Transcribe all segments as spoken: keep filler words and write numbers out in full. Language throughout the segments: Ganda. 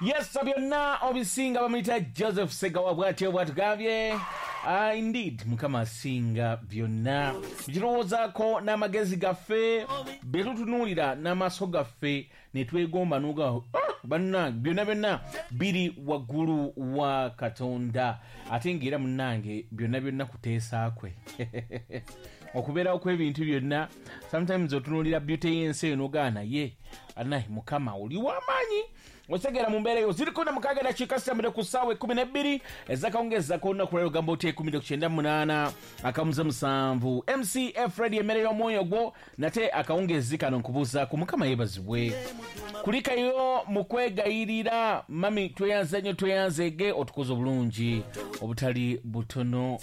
Yes, byonna obisinga. Bamuyita Joseph Segawa, bwatyo bwatugambye. Uh, indeed Mukama asinga byonna tukirowoozaako n'amagezi gaffe, bye tutunuulira n'amaaso gaffe ne twegomba nuga, oh, bannange, byonna byonna biri waggulu wa Katonda. Ate ngaera munnange, byonna byonna kuteesa kwe okubeerawo kw'ebintu byonna. Sometimes otunuulira beauty y'ensi eyo nogaa, naye anaye Mukama oli w'amaanyi. Otegeera mu mbeera eyo ziriko na mukaaga dakiika sitambire ku ssaawa ekkumi n'ebbiri ezakawungeezako olunaku lwaleero. Gamba otya? Ekumi kyenda munaana akamuze musanvu M C F Radio, emmere y'omwoyo gwo. Nate akawungeezi kano nkubuuzaako. Mukama yeebazibwe. Kulikayo mu kwegayirira. Mami, tweyanze nnyo, tweyanzeege, otukoze obulungi obutali butono.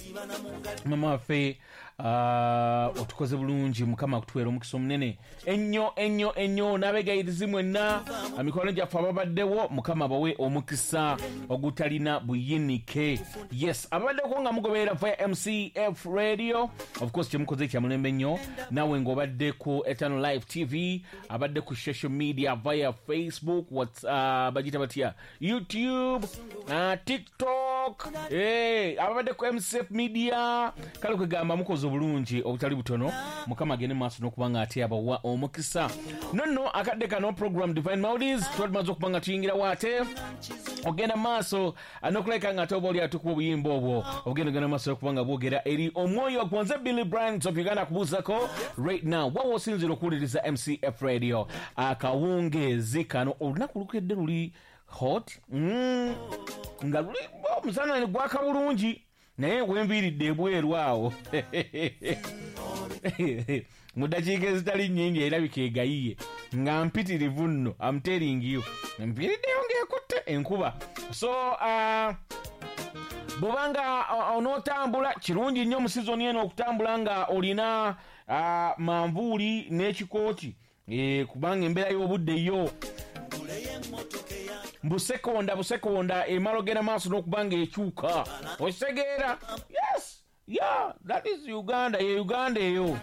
Mama waffe, uh, otukoze bulungi. Mukama akutuweera omukisa omunene ennyo ennyo ennyo. N'abegayirizi mwenna, mikwano gyaffe ababaddewo, Mukama bawe omukisa ogutalina buyinike. Yes, ababaddeko nga mugoberera via M C F Radio, of course kyemukoze kyamulembe nnyo. Naawe ng'obadde ku Eternal Life T V, abadde ku social media via Facebook, what, uh, bagita batya, YouTube, uh, TikTok, hey, ababadde ku M C F Media, kale kwegamba mukoze obulungi obutali butono. Mukama agende maaso n'okuba nga ate abawa omukisa. Nonno akadde kano, program Divine Melodies, tuba tumaze okuba nga tuyingirawo ate ogenda maaso n'okulabika nga ate oba oli atukuba obuyimba obwo obugenda ogenda maaso okuba nga bwogera eri omwoyo gwanze. Billy Brands of Uganda akubuuzako right now, wawa osinzira okuwuliriza M C F Radio akawungeezi kano? Olunaku lukedde luli hot, mm, nga luli omusana ne gwaka bulungi, naye wenviiridde ebweru awo mu ddakiika ezitali nnyingi erabika egayiye nga mpitirivu nno. I'm telling you, mpiriddeyo ng'ekutte enkuba. So uh, bw'obanga onootambula, kirungi nnyo mu sizoni eno okutambula nga olina uh, manvuuli n'ekikooti, e, kubanga embeera y'obudde yo busekonda busekonda emala ogenda maaso n'okuba nga ekyuka. Okitegeera? Yes, yeah, that is Uganda. Ye Uganda eyo.